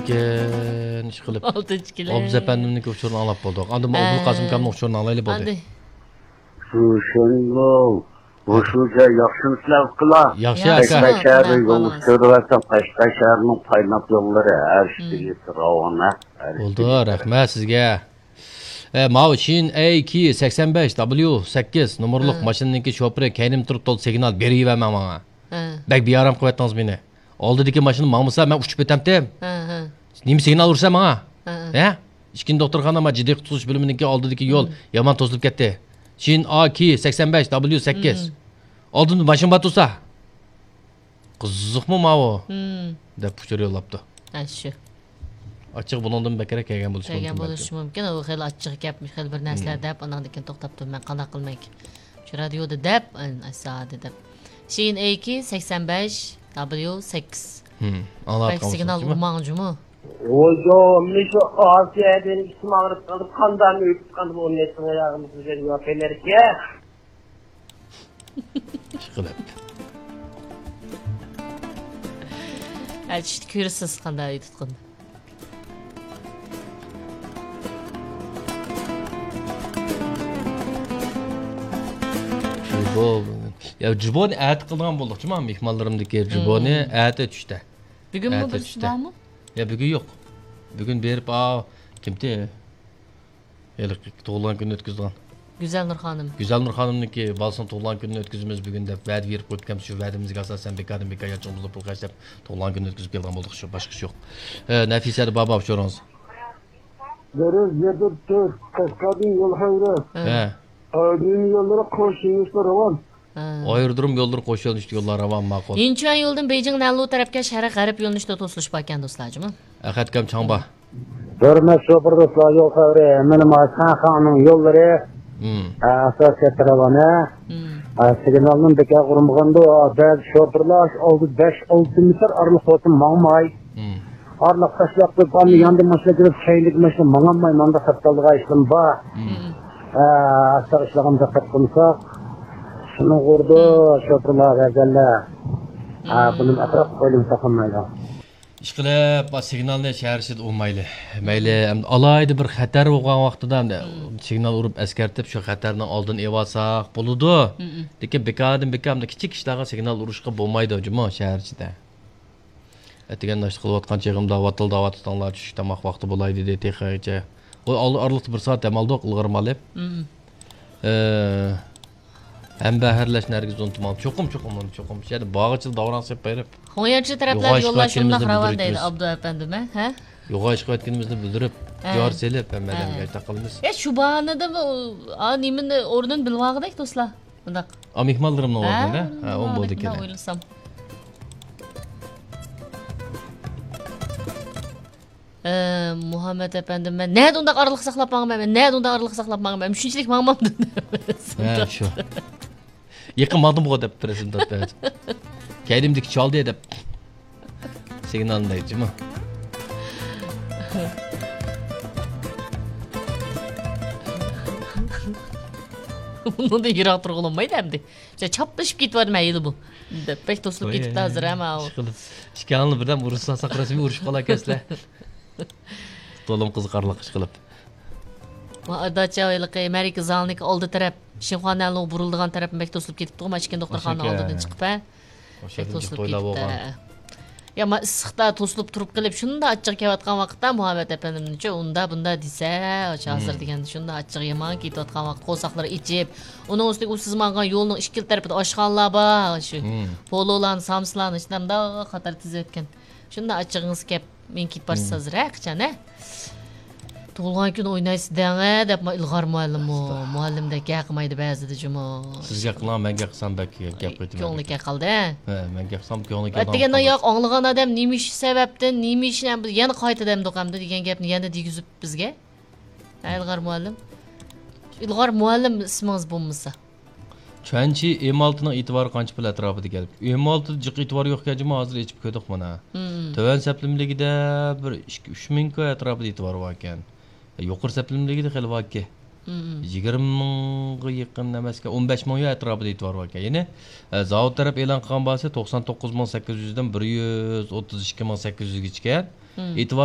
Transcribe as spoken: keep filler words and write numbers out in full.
ئىكەن، ئىشقىلىپ. ئالتىنچى كىلىم. ئوبزا ئەپەندىمنىڭكى ئۇچۇرىنى ئاڭلاپ بولدۇق. ئاندىن ئابدۇلقاسىم ئاكامنىڭ ئۇچۇرىنى ئاڭلايلى بولدى. ئاندى. شۇشەنبۇ، بۇ شۇشە ياخشىمۇسىلەر ئۇكىلار؟ ياخشى، ئاكا. قەشقەر شەھەرگە يول ئۇچۇرۇۋەتسەڭ، قەشقەر شەھەرنىڭ قايناق يوللىرى ھەر ئىككىسى راۋان ھە. بولدى، رەھمەت سىزگە. ئە، ماۋۇ شىن ئەي كى سەكسەن بەش دابليۇ سەككىز نومۇرلۇق ماشىنىنىڭكى شوپۇرى كەينىمدە تۇرۇپ، تول سىگنال بېرىۋەرمەڭ ماڭا. ھە. بەك بىئارام قىلىۋەتتىڭىز مېنى. ئالدىدىكى ماشىنا ماڭمىسا، مەن ئۇچۇپ ئۆتەمتىم. ھە، ھە. نېمە سىگنال ئۇرىسەن ماڭا؟ ھە، ھە. ھە؟ ئىككىنچى دوختۇرخانا، ما جىددىي قۇتقۇزۇش بۆلۈمىنىڭكى ئالدىدىكى يول يامان توسۇلۇپ كەتتى. شىن ئا كى سەكسەن بەش دابليۇ سەككىز. ئالدىمدا ماشىنا بار تۇرسا. قىزىقمۇ ماۋۇ؟ دەپ ئۇچۇر يوللاپتۇ. ھە، شۇ. ئاچچىقى بۇنىڭدىن بەكرەك كەلگەن بولۇشى مۇمكىن بولۇشى بەلكىم. مۇمكىن. ئۇ خېلى ئاچچىقى كەپ، خېلى بىر نەرسىلەر دەپ، ئاناندىن كېيىن توختاپ تۇرۇپ، مەن قانداق قىلمايكىن؟ شۇ رادىيودا دەپ، ئەسادە دەپ. شىن ئەي كى سەكسەن بەش دابليۇ سەككىز. ئاڭلاۋاتقان بولسىڭىز، سىگنال ئۇرماڭ جۇمۇ. ۋويجو، مۇشۇ ئاسىيادىن ئىچىم ئاغرىپ قالدى، قانداقمۇ ئۆتۈپ قالدى، بۇ نېسىڭ ئاياغىمىزغا يوق ئەمەسكەن. ئىشقىلىپ. ھە، چۈشتە كۆرىسىز قانداق ئۆتۈتقىنى. جۇبو. يا، جۇبونى ئەتە قىلىدىغان بولدۇق جۇما، مېھمانلىرىمدىكى جۇبونى ئەتە چۈشتە. بۈگۈنمۇ ئەتە بىرسى چۈشتە. بارمۇ؟ يا، بۈگۈن يوق. بۈگۈن بېرىپ، ئا، كىمتى؟ ھېلىقى تۇغۇلغان كۈنىنى ئۆتكۈزىدىغان. گۈزەلنۇر خانىم. گۈزەلنۇر خانىمنىڭكى بالىسىنىڭ تۇغۇلغان كۈنىنى ئۆتكۈزىمىز بۈگۈن دەپ ۋەدە بېرىپ قويۇپكەنمىز. شۇ ۋەدىمىزگە ئاساسەن بىكاردىن بىكار يانچۇقىمىزدىن پۇل خەجلەپ تۇغۇلغان كۈنىنى ئۆتكۈزۈپ كەلگەن بولدۇق. شۇ، باشقا ئىش يوق. ھە، نەفىسە بابا ئۇچۇرىڭىز. دەرس يەتتە تۆت، قەشقەردىن يول خەۋىرى. ھە. ئايرودروم يوللىرى قوش يۆنىلىشتە راۋان. ھە. ئايرودروم يوللىرى قوش يۆنىلىشتە يوللار راۋان، ماقۇل. يىنچۈەن يولىدىن بېيجىڭ نەنلۇ تەرەپكە شەرق غەرب يۆنىلىشتە توسۇلۇش باركەن، دوستلار، جۇمۇ. ئەخەت ئاكام چاڭبا. ھۆرمەت شوپۇر دوستلار، يول خەۋىرى، مېنىڭ شاڭخەننىڭ يوللىرى، ئاساسىي تراۋانە، سىگنالنىڭ بىكار ئۇرمىغاندۇ، بەزى شوپۇرلار ئالدى بەش، ئالتە مېتىر ئارىلىق بولسا ماڭماي. ئارىلىق تاشلاپ قويۇپ، ئاندىن ياندىن ماشىنا كېلىپ، كەينىدىكى ماشىنا ماڭالماي، مانداق خەت قالىدىغان ئىشلىرىم بار. ئاستا ئىشلىغان دىققەت قىلمىساق، شۇنىڭغا ئۇرىدۇ، شوپۇرلار، بەزەنلەر. بۇنى ئەتراپ ئويلىمىساق بولمايدۇ. ئىشقىلىپ، سىگنالنى شەھەر ئىچىدە ئۇرمايلى. مەيلى، ئەمدى ئالاھىدە بىر خەتەر بولغان ۋاقتىدا، ئەمدى سىگنال ئۇرۇپ ئەسكەرتىپ، شۇ خەتەرنىڭ ئالدىنى ئېلىۋالساق بولىدۇ. لېكىن بىكاردىن بىكار ئەمدى كىچىك ئىشلارغا سىگنال ئۇرۇشقا بولمايدۇ جۇمۇ شەھەر ئىچىدە. ئەتىگەن ناشتا قىلىۋاتقان چېغىمدا ۋاتىلداۋاتىدىغانلار چۈشلۈك تاماق ۋاقتى بولاي دېدى تېخىچە. ئۇ ئال-، ئارىلىقتا بىر سائەت دەم ئالدۇق، ئىلغار مالىپ. ئە، ھەمبەھىرلەشنى ھەرگىز ئۇنتۇماڭ. چوقۇم، چوقۇم، ئۇنى چوقۇم. شۇ يەردە بارغىچە داۋراڭ سېلىپ بېرىپ، خۇڭيەنچى تەرەپلەردە يوللار شۇنداق راۋان دەيدۇ ئابدۇ ئەپەندىم، ھە؟ يوغان ئىش قىلىۋاتقىنىمىزنى بىلدۈرۈپ، جار سېلىپ، ھەممە ئادەمگە ئايتاق قىلىمىز. يا، شۇ باھانىدىمۇ، ئا، نېمىنى، ئورنىنى بىلىۋالغۇدەك، دوستلار. ئۇنداق. ئا، مېھمانلىرىمنىڭ ئورنىدا؟ ھە، ئۇ بولدى ئىكەن. ئويلىسام. ئە، مۇھەممەت ئەپەندىم، مەن نەدە ئۇنداق ئارىلىق ساقلاپ ماڭىمەن؟ مەن نەدە ئۇنداق ئارىلىق ساقلاپ ماڭىمەن؟ مەن شۇنچىلىك ماڭمامدىم. ھە، شۇ. يېقىن ماڭدىمغۇ دەپ بىرسىنى تارتىپ. كەينىمدىكى چالدى دەپ. سىگنالنى دەيدىچۇمۇ. بۇنىڭدىن يىراق تۇرغىلى بولمايدۇ ئەمدى. چاپلىشىپ كېتىۋاتىمەن ھېلىمۇ. دەپ بەك توسۇلۇپ كېتىپتۇ ھازىر ھە ماۋۇ. ئىشقىلىپ ئىككىڭلار بىردەم ئۇرۇشساق رەسمىي ئۇرۇشۇپ قالاركەنسىلەر. تولىمۇ قىزىقارلىق ئىشقىلىپ. داچا ھېلىقى مەرىكە زالىنىڭكى ئالدى تەرەپ، شىنخۇا نەنلۇغا بۇرۇلىدىغان تەرەپ بەك توسۇلۇپ كېتىپتىغۇ، ماشىنا دوختۇرخانا ئالدىدىن چىقىپ ھە. بەك توسۇلۇپ كېتىپتۇ. يا، ما ئىسسىقتا توسۇلۇپ تۇرۇپ قېلىپ، شۇنداق ئاچچىقى كېلىۋاتقان ۋاقىتتا مۇھەممەت ئەپەندىمنىچۇ ئۇندا بۇندا دېسە، ھازىر دېگەندە شۇنداق ئاچچىقى يامان كېتىۋاتقان ۋاقىت، قورساقلىرى ئېچىپ، ئۇنىڭ ئۈستىگە ئۇ سىز ماڭغان يولنىڭ ئىككىلا تەرىپىدە ئاشخانىلار بار، شۇ پولولارنى، سامسىلارنى شۇنداق قاتار تىزىۋەتكەن. شۇنداق ئاچچىقىڭىز كەپ، مېڭىپ كېتىپ بارسىز ھازىر ھە، قاچان ھە؟ تۇغۇلغان كۈنى ئوينايسىز دەڭە دەپ، ئىلغار مۇئەللىممۇ، مۇئەللىمدەك گەپ قىلمايدۇ بەزىدە جۇمۇ. سىز گەپ قىلىڭ، مەن گەپ قىلسام بەك گەپ قېتىمەن. كۆڭلى كەپ قالدى ھە؟ ھە، مەن گەپ قىلسام كۆڭلى كەپ قالدى. ئەتىگەندە ياق، ئاڭلىغان ئادەم نېمە ئىش سەۋەبتىن، نېمە ئىشنى يەنە قايتا دەمدۇق ئەمدى دېگەن گەپنى يەنە دېگۈزۈپ بىزگە. ھە، ئىلغار مۇئەللىم. ئىلغار مۇئەللىم ئىسمىڭىز بولمىسا. چۈەنچى ئېم ئالتىنىڭ ئېتىبارى قانچە پۇل ئەتراپىدا گەپ؟ ئېم ئالتىدا جىق ئېتىبار يوقكەن جۇمۇ، ھازىر ئېچىپ كۆردۇق مانا. تۆۋەن سەپلىمىلىكىدە بىر ئىككى، ئۈچ مىڭ كوي ئەتراپىدا ئېتىبار باركەن. يۇقىرى سەپلىمىلىكىدە خېلى باركەن. يىگىرمە مىڭغا يېقىن ئەمەسكەن، ئون بەش مىڭ يۈەن ئەتراپىدا ئېتىبار باركەن. يەنى، ئە، زاۋۇت تەرەپ ئېلان قىلغان باھاسى توقسان توققۇز مىڭ سەككىز يۈزدىن بىر يۈز ئوتتۇز ئىككى مىڭ سەككىز يۈزگىچىكەن. ئېتىبار